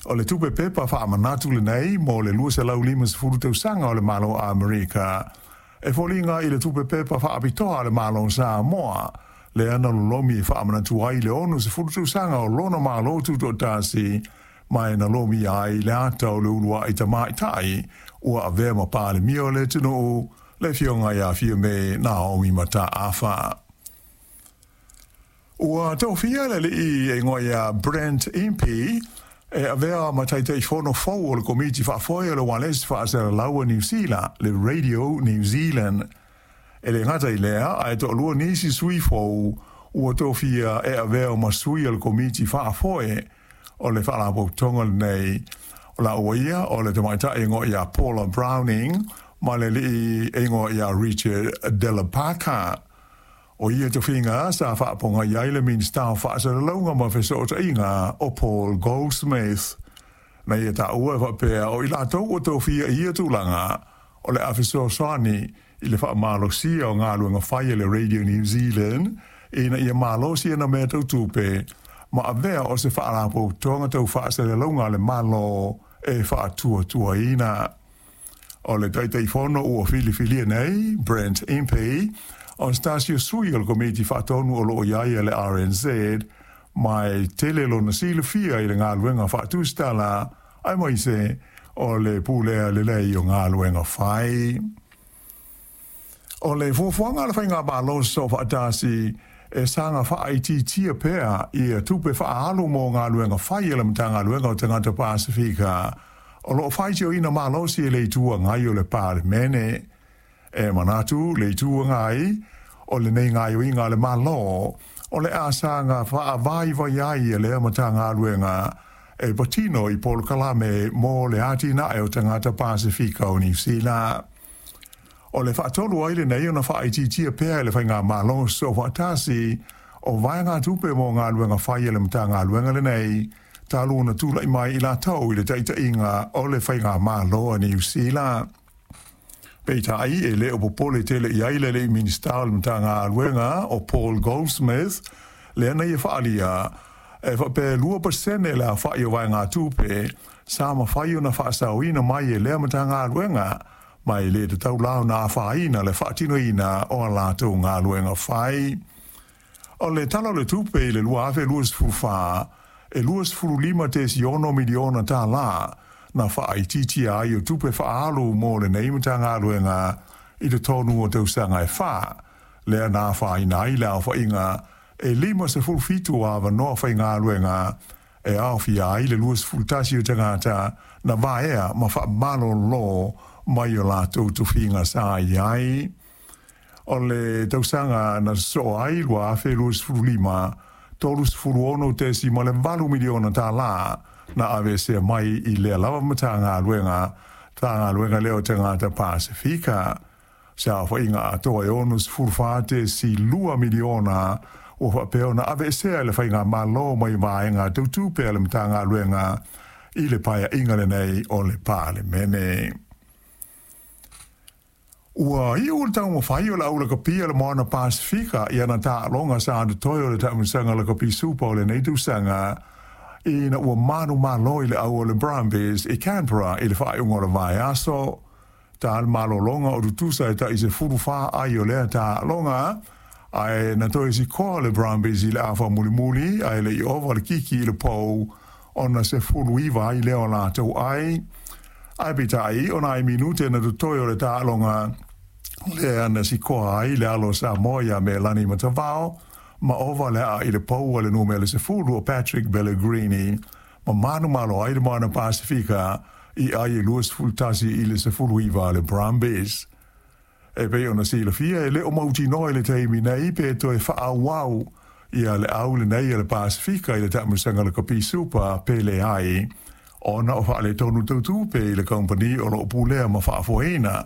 O le tupe pepa faamanatu lenei mo le 250 tausaga o le Malo o Amerika e foliga i le tupe pepa faapitoa a le Malo o Samoa lea na lolomi e faamanatu ai le 60 tausaga o lona Malo Tutoatasi ma e na lomia ai le ata o le uluai tamaitai ua avea ma Palemia o le atunuu, le Afioga ia Fiame Naomi Mataafa. Ua tofia le alii e igoa ia Brent Impey e avea ma Taitaifono fou o le Komiti Faafoe o le Ualesi Faasalalau a Niu Sila, le Radio New Zealand. E le gata i lea, ae toalua nisi sui fou ua tofia e avea ma sui o le Komiti Faafoe o le Faalapotopotoga lenei. O laua ia o le tamaitai e igoa ia Paula Browning ma le alii e igoa ia Richard Dellabarca. O ia tofiga sa faapogai ai le Minisita o Faasalalauga ma Fesootaiga o Paul Goldsmith. Na ia taua e faapea o i latou ua tofia i ia tulaga o le a fesoasoani i le faamalosia o galuega fai a le Radio New Zealand ina ia malosi ana mea tau tupe ma avea o se faalapotopotoga tau faasalalauga a le Malo e faatuatuaina. O le Taitaifono ua filifilia nei, Brent Impey, o se tasi o sui o le Komiti Faatonu o lo o i ai a le RNZ, ma e tele lona silafia i le galuega faatusitala aemaise o le pulea lelei o galuega fai. O le fuafuaga a le Faigamalo Soofaatasi e saga faaitiitia pea ia tupe faaalu mo galuega fai a le Matagaluega o Tagata Pasefika o lo o faitioina malosi e le Itu Agai o le Palemene. E manatu le Itu Agai, o lenei gaoioiga a le Malo o le a saga faavaivai ai lea Matagaluega e patino i polokalame mo le atinae o tagata Pasefika o Niu Sila. O le faatolu ai lenei ona faaitiitia pea e le Faigamalo Soofaatasi o vaegatupe mo galuega fai a le Matagaluega lenei talu ona tulai mai i latou i le taitaiga o le Faigamalo a Niu Sila. Peitai, e le o popole tele i ai le alii Minisita o le Matagaluega o Paul Goldsmith, lea na ia faaalia e faapea e 2% le aofai o vaegatupe sa mafai ona faasaoina mai e lea Matagaluega, ma e le tatau la ona afaina le faatinoina o a latou galuega fai. O le Tala o le Tupe i le 2024, e $25.6 miliona tala na faaitiitia ai o tupe faaalu mo lenei Matagaluega i totonu o tausaga e fa, lea na afaina ai le aofaiga e 57 o avanoa faigaluega e aofia ai le 21 o tagata na vaea ma faamalolo mai o latou tofiga sa i ai. O le tausaga na sosoo ai 2025, $36.8 miliona tala na aveesea mai i lea lava Matagaluega, Matagaluega lea o Tagata Pasefika. Se aofaiga atoa e $64.2 miliona ua faapea ona aveesea e le Faigamalo mai vaega tau tupe a le Matagaluega i le paeaiga lenei o le Palemene. Ua iu le taumafai o le au lakapi a le Moana Pasefika i ana taaloga sa totoe o le taamilosaga lakapi Supa o lenei tausaga ina ua manumalo i le au o le Brumbies i Canberra i le faaiuga o le vaiaso. Ta le malologa o tutusa e tai 14 ai o lea taaloga, ae na toe sikoa le Brumbies i le afa mulimuli ae le i ova le kiki i le pou ona 19 ai lea o latou ai. Ae peitai, o nai minute na totoe o le taaloga lea na sikoa ai le alo o Samoa ia Melani Matavao ma ova le aa i le pou a le numera 10 o Patrick Pellegrini ma manumalo ai le Moana Pasefika i ai e 21-19 a le Brumbies. E pei ona silafia, e le o mautinoa i le taimi nei pe toe faaauau ia le au lenei a le Pasefika i le taamilosaga lakapi Supa pe leai, ona o faaletonu tau tupe i le kamupani o lo o pulea ma faafoeina.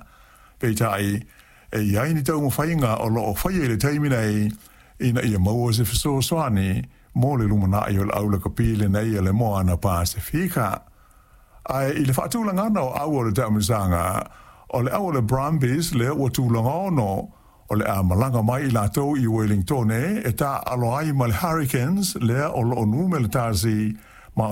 Peitai, e i ai ni taumafaiga o lo o faia i le taimi nei ina ia maua se fesoasoani mo le lumanai o le au lakapi lenei a le Moana Pasefika. Ae i le faatulagana o au o le taamilosaga, o le au o le Brumbies lea ua tulaga ono, o le a malaga mai i latou i Wellingtone e taaalo ai ma le Hurricanes lea o lo o numera tasi.